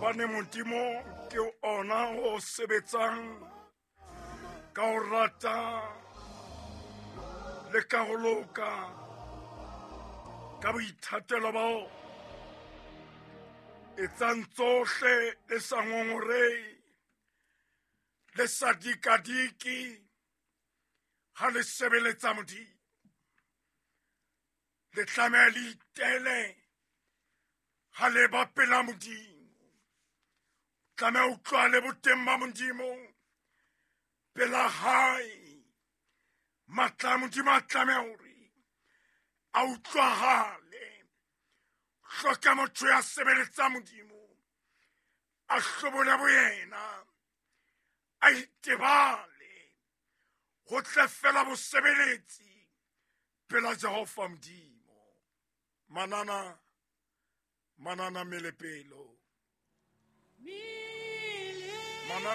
Hobane Modimo ke ona o sebetsang ka ho rata le ka ho loka ka boithatelo ba o etsang tsohle le sa ngongorehe le sa dikadike ha le sebeletsa Modimo. Le tlameha le itele ha le ba pela Modimo. Tlameha utlwa le boteng ba Modimo pela hae. Matla a Modimo a tlameha hore a utlwahale. Hloka motho ya sebeletsa Modimo a hlobole boyena, a itebale, ho tle fela bosebeletsi pela Jehova Modimo. Manana, manana melepelo.